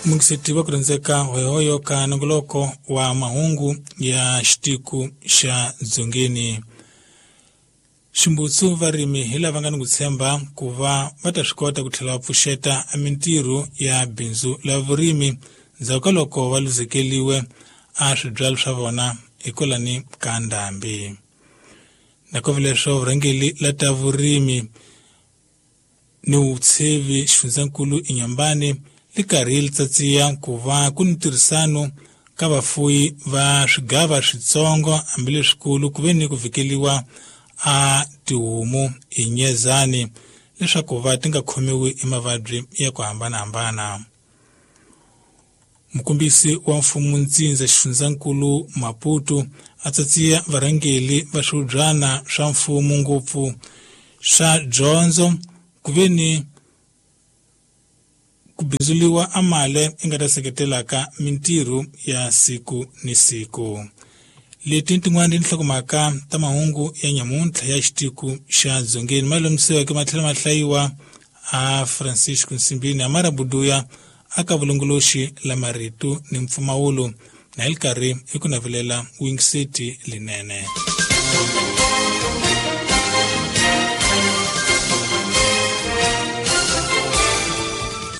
Mungiseti wa kurhandzeka hoyohoyo ka nongoloko wa mahungu ya xitiku xa Dzongeni. Ximbutsu varimi hi lava nga ni ku tshemba ku va va ta swi kota ku tlhela va pfuxeta mintirho ya bindzu la vurimi ndzhaku ka loko va luzekeliwe a swibyalo swa vona hikwalani ka ndhambi. Nakove leswo vurhangeli la ta vurimi ni vutshevi xifundzankulu eNyambani li karhi li tsatsiya ku va ku ni ntirhisano ka vafuyi va swigava switsongo hambileswikulu ku ve ni ku vhikeliwa a tihomu hi nyezani leswaku va ti nga khomiwi hi mavabyi ya ku hambanahambana. Mukombisi wa mfumo ntsindza xifundzankulu Maputo a tsatsiya varhangeli va swihubyana swa mfumo ngopfu swa dyondzo ku ve ni ku bindzuliwa amale i nga ta seketelaka mintirho ya siku ni siku. Leti tin'wana tinhlokomhaka ta mahungu ya nyamuntlha ya xitiku xa Dzongeni ma lomisiweke ma tlhela ma hlayiwa a Francisco Nsimbini Amara Buduya aka vulongoloxi la marito ni mpfumawulo na hi li karhi hi ku navelela wingiseti linene.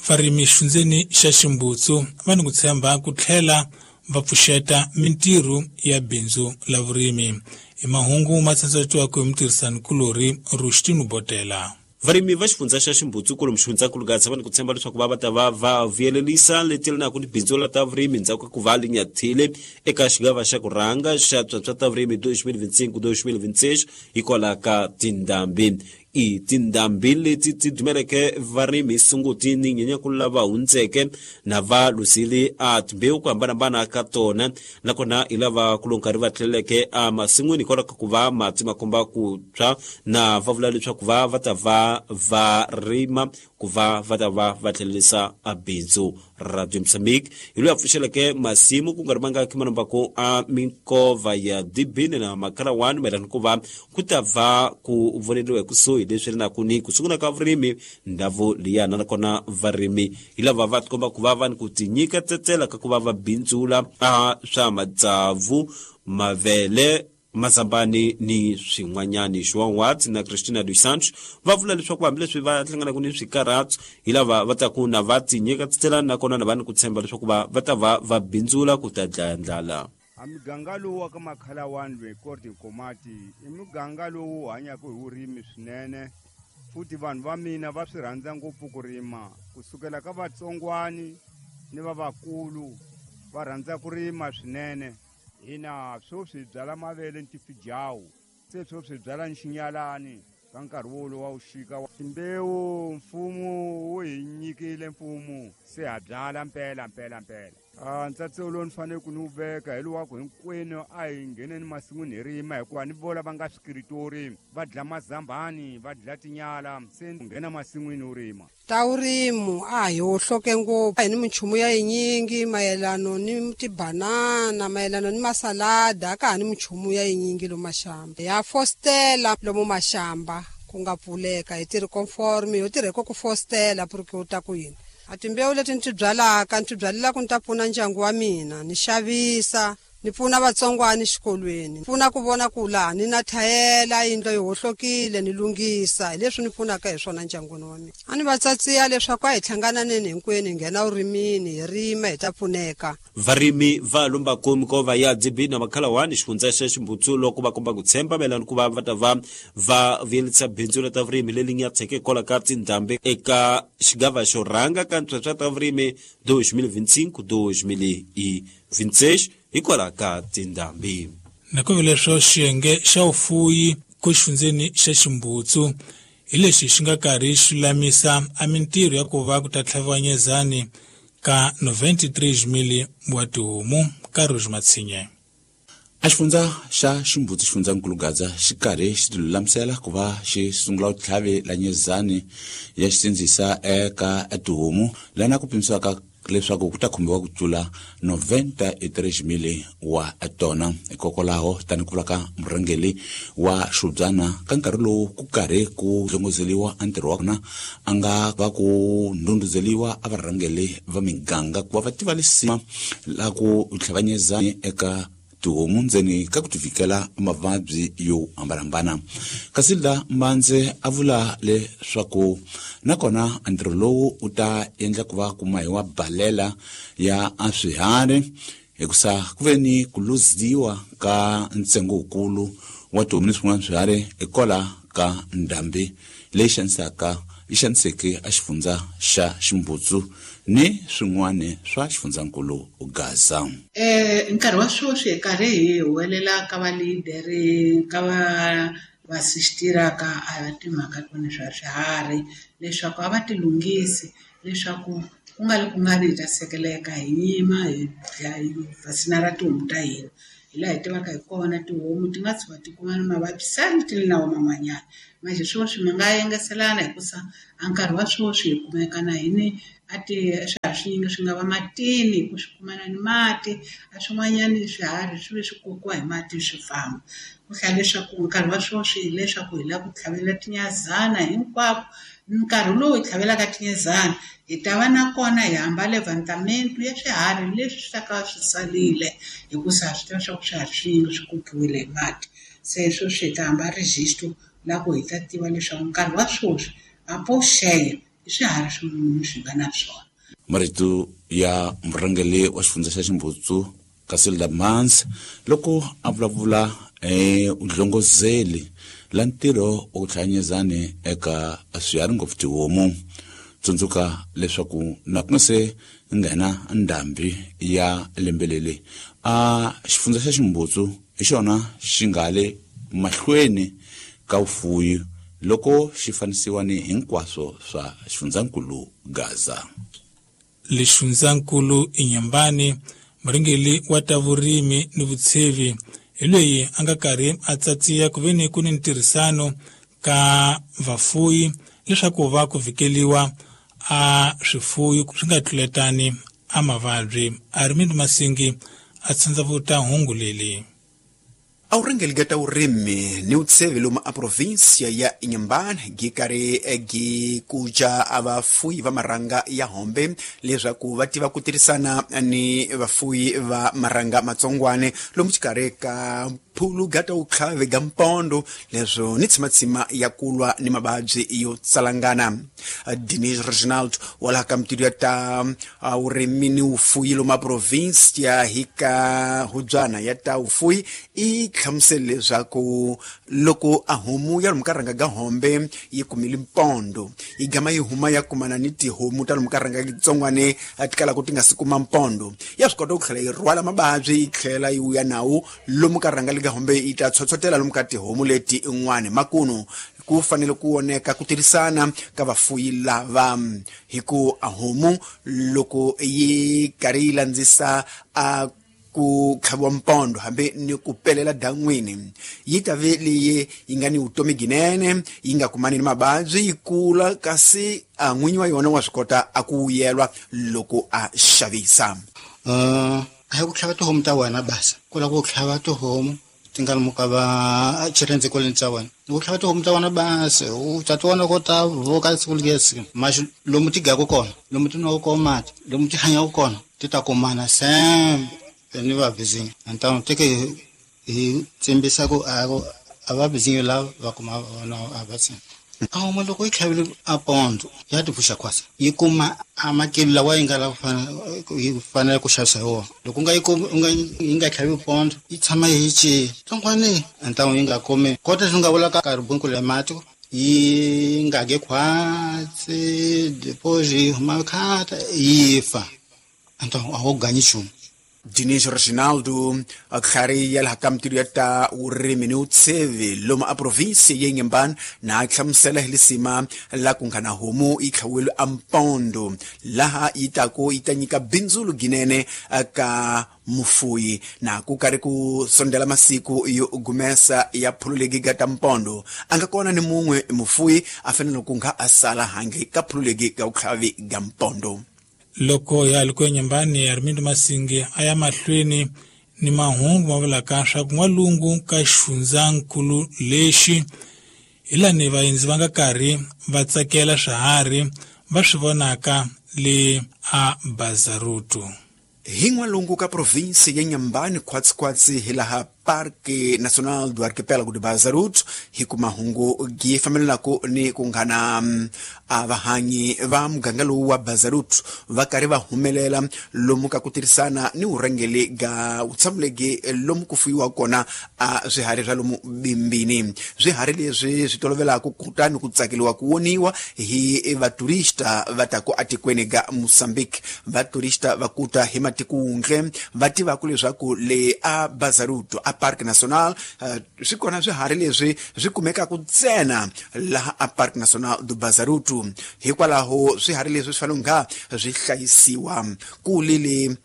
Varimi xifundzeni xa Ximbutsu va ni ku tshemba ku tlhela va pfuxeta mintirho ya bindzu la vurimi. I mahungu ma tsandzatiwaka hi mutirhisani-kulorhi Rustino Botela. Varimi va xifundza xa Ximbutsu kwalomu xifundzankulu Gaza va ni ku tshemba leswaku va va ta va va vuyelelisa leti yelanaka ni bindzu la ta vurimi ndzhaku ka ku va linyathile eka xigava xa ku rhanga xa swa ta vurimi 2025-2026 hikwalaho ka tindhambi. I tindhambi leti ti dumeleke varimi Sunguti ni Nyenyankulu lava hundzeke na va luzile a timbewu ku hambanahambana ka tona, nakona hi lava ku lo nkarhi va tlheleleke a masin'wini hikwalaho ka ku va mati ma komba ku tshwa, na va vula leswaku va va ta va va rima ku va va ta va va tlhelelisa a bindzu. Radio Mozambique hi loyi a pfuxeleke masimu ku nga ri mangaki manombako a minkova ya Dibini na Makhalawani mayelana ku va ku ta va ku voneliwa hi kusuhi leswi ri naku ni ku sungula ka vurimi ndhawu liyana, nakona varimi hi lava va tikomba ku va va ni ku tinyiketetela ka ku va va bindzula a swa matsavu, mavele, mazambani ni swin'wanyani. João Watts na Cristina dos Santos va vula leswaku hambileswi va hlanganaka ni swikarhatso hi lava va taku na va tinyiketetela, nakona na va ni ku tshemba leswaku va va ta va va bindzula ku ta dlaya ndlala. A muganga lowu wa ka Makhalawani loyi Korte Nkomati i muganga lowu hanyaka hi vurimi swinene, futhi vanhu va mina va swi rhandza ngopfu ku rima, kusukela ka vatsongwani ni va vakulu va rhandza ku rima swinene. Hina sweswi hi byala mavele ni tifijawu, se sweswi hi byala ni xinyalani ka nkarhi wolowo wa vuxika. Timbewu mfumo wu hi nyikile mfumo, se ha byala mpela mpela mpela. Ntsatso lowu ni fanele ku ni wu veka hi lowu wa ku hinkwenu a hi ngheneni masin'wini hi rima, hikuva ni vo lava nga swikiritori va dla mazambani, va dla tinyala, se nghena masin'wini u rima. Ta vurimu a hi hohloke ngopfu, a hi ni minchumu ya yinyingi mayelano ni tibanana, mayelano ni masalada, a ka ha ni minchumu ya yinyingi lomu maxamba. Ya fostela lomu maxamba ku nga pfuleka, hi tirhi conforme, yo tirha ku fostela porque u ta ku yini. A timbewu leti ni ti byalaka, ni ti byalela ku ni ta pfuna ndyangu wa mina, ni xavisa, ni pfuna vatsongwana exikolweni, pfuna ku vona ku laha ni na thayela, yindlu yi hohlokile, ni lunghisa. Hi leswi ni pfunaka hi swona ndyangwini wa mina. A ni va tsatsiya leswaku a hi hlangananeni hinkwenu, hi nghena vurimini, hi rima, hi ta pfuneka. Varimi va lombako minkova ya DB na Makhalawani xifundza xa Ximbutsu loko va komba ku tshemba mayelana ku va va ta va va vuyelisa bindzu ra ta vurimi leri nyatseke hikwalaho ka tindhambi eka xigava xo rhanga ka ntswetswa ta vurimi 2025-2026 hikwalaho ka tindhambi. Nakambe leswo xiyenge xa vufuyi ku xifundzeni xa Ximbutsu hi lexi xi nga karhi xi lulamisa a mintirho ya ku va ku ta tlhaviwa nyezani ka 93,000 wa tihomu ka Rouge Matshinye. A xifundza xa Ximbutsu xifundzankulu Gaza xi karhi xi tilulamisela ku va xi sungula ku tlhavela nyezani ya xisindzisa eka tihomu lana ku pimisiwaka leswaku ku ta khumbiwa ku tlula 93,000 wa tona. Hikokwalaho tani ku vula ka murhangeri wa Swibyana ka nkarhi lowu ku karhi ku dlongozeliwa a ntirho wa kona a nga va ku ndhundhuzeliwa a varhangeri va miganga ku va va tiva lisima la ku tlhavanyeza eka tihomu ndzeni ka ku tivikela mavabyi yo hambanahambana. Kasi la Mbandze a vula leswaku nakona ntirho lowu u ta endla ku va ku mahiwa balela ya swiharhi hikusa ku ve ni ku luziwa ka ntsengo wukulu wa tihomu ni swin'wana swiharhi hikwalaho ka ndhambi leyi xanisaka yi xaniseke a xifundza xa Ximbutsu ni swin'wana swa xifundzankulu Gaza. Nkarhi wa sweswi hi karhi hi huwelela ka va leader ka va vasistira ka a timhaka tona swa swiharhi leswaku a va ti lunghisi leswaku ku nga ri ku nga ri hi ta sekeleka hi yima hi vaccine ra tihomu ta hina. Hi laha hi tivaka hi kona tihomu ti nga tshuka ti kuma na mavabyi sani ti ri na wona man'wanyana. Manjhe sweswi mi nga yengeselana hikusa a nkarhi wa sweswi hi kumeka na hini a ti swiharhi swinyingi swi nga va matini ku swi kumana ni mati a swin'wanyani swiharhi swi ve swi kokiwa hi mati swi famba. Ku hlaya leswaku nkarhi wa sweswi hileswaku hi lava ku tlhavela tinyazana hinkwako. Nkarhi lowu hi tlhavelaka tinyazana hi ta va na kona hi hambale vantamento ya swiharhi leswi swi ta ka swi salile hikusa ha swi tiva swa ku swiharhi swinyingi swi kokiwile hi mati. Se sweswi hi ta hamba register la ku hi ta tiva leswaku nkarhi wa sweswi a po xeya i swiharhi swin'wana swi nga na swona. Marito ya murhangeri wa xifundza xa Ximbutsu Casilda Mans loko a vulavula udlongozeli la ntirho wa ku tlhanyezani eka swiharhi ngopfu tihomu. Tsundzuka leswaku na ku nga se nghena ndhambi ya lembe leri a xifundza xa Ximbutsu hi xona xi nga le mahlweni ka vufuwi loko xi fanisiwa ni hinkwaswo swa xifundzankulu Gaza. Lexifundzankulu Inhambane murhangeri wa ta vurimi ni vutshevi hi loyi a nga karhi a tsatsiya ku ve ni ku ni ntirhisano ka vafuyi leswaku va ku vhikeliwa a swifuyi swi nga tluletani a mavabyi. Armind Masingi a tsandzavuta hungu leli. A urhangeri ka ta vurimi ni vutshevi lomu a provinsia ya Inhambane gi karhi gi kuca a vafuyi va marhanga ya hombe leswaku va tiva ku tirhisana ni vafuyi va marhanga matsongwane lomu xikarhi ka phulu ga ta wutlhavi ga mpondo leswo ni tshimatshima ya kulwa ni mavabyi yo tsalangana. Denis Reginald wa laha ka mitilu ya ta vurimi ni vufuyi lomu a provinsia hi ka hubyana ya ta vufuyi i hlamusele leswaku loko a homu ya lomu ka rhanga ga hombe yi kumile mpondo yi gama yi huma ya kumana ni tihomu ta lomu ka rhanga tsongwane ti kalaka ti nga si kuma mpondo ya swi kota ku tlhela yi rhwala mavabyi yi tlhela yi wuya nawu lomu ka rhanga lika hombe yi ta tshotshotela lomu ka tihomu leti in'wana. Makunu ku fanele ku voneka ku tirhisana ka vafuyi lava hi ku a homu loko yi karhi yi landzisa a ku tlhaviwa mpondo hambi ni ku pelela dan'wini yi ta ve leyi yi nga ni vutomi ginene yi nga kumani ni mavabyi yi kula kasi a n'winyi wa yona wa swi kota a ku vuyelwa loko a xavisa. A hi ku tlhava tihomu ta wena basa ku lava ku tlhava tihomu ti nga lomu ka va xirhendze kwaleni ta wena ku tlhava tihomu ta wena basa u ta ti vona ko ta voka siku lesi maxi lomu ti gaku kona lomu ti nwaka kona mati lomu ti hanyaka kona ti ta kumana sembe ni va bizinyo antano teke hi tsimbisa ku a va bizinyo lava va kuma vona a va tsini. A homu loko yi tlhavile a pondo ya ti pfuxa khwasa yi kuma a makilo lawa yi nga lava yi fanele ku xavisa hi wona. Loko u nga yi kumi u nga yi nga tlhavi pondo yi tshama yi ci tsongwani antano yi nga kumi kota swi nga vula ka karhi bunku le mati yi nga ge khwatsi depois yi huma khata yi fa antano a wu ganyi nchumu. Dinis Reginaldo tlhari ya laha ka mitilu ya ta vurimi ni vutshevi lomu a provinsia ya Inhambane na hlamusela hi lisima la ku nga na homu yi tlhaviwile a mpondo laha yi taku yi ta nyika bindzu ginene ka mufuyi na ku karhi ku sondela masiku yo gumesa ya phululegi ga ta mpondo a nga kona ni mun'we mufuyi a fanele ku nga a sala handle ka phululegi ga vutlhavi ga mpondo. Loko ya ha ri ku eNyembani, Armindo Masingi a ya mahlweni ni mahungu ma vulaka swa ku n'walungu ka xifundzankulu lexi hi lani vaendzi va nga karhi va tsakela swiharhi va swi vonaka le a Bazaruto. Hi n'walungu ka provinsi ya Nyambani khwatsikhwatsi hi laha Parque Nacional do Arquipélago de Bazaruto, hi ku mahungu gi fambelanaku ni ku nghana a vahanyi va muganga lowu wa Bazaruto va karhi va humelela lomu ka ku tirhisana ni vurhangeli ga vutshambulegi lomu ku fuyiwa kona a swiharhi swa lomu bimbini. Swiharhi leswi swi tolovelaka kutani ku tsakeliwa ku woniwa hi vaturista va taku atikweni ga Mozambique. Vaturista va kuta hi matiko wundle va tivaku leswaku le a Bazaruto a Parque Nacional swi kona swiharhi leswi swi kumekaka ntsena laha a Parque Nacional do Bazaruto. Hikwalaho swiharhi leswi swi fanele nga swi hlayisiwa. Ku lile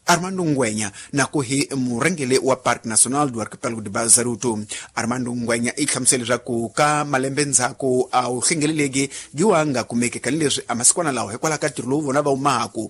Armando Ngwenya na ku hi murhangeri wa Parque Nacional do Arquipélago de Bazaruto. Armando Ngwenya i hlamusele leswaku ka malembe ndzhaku a wu hlengeleleki gi wa nga kumeki kanileswi a masikwana lawa hikwalaho ka ntirho lowu vona va wu mahaku.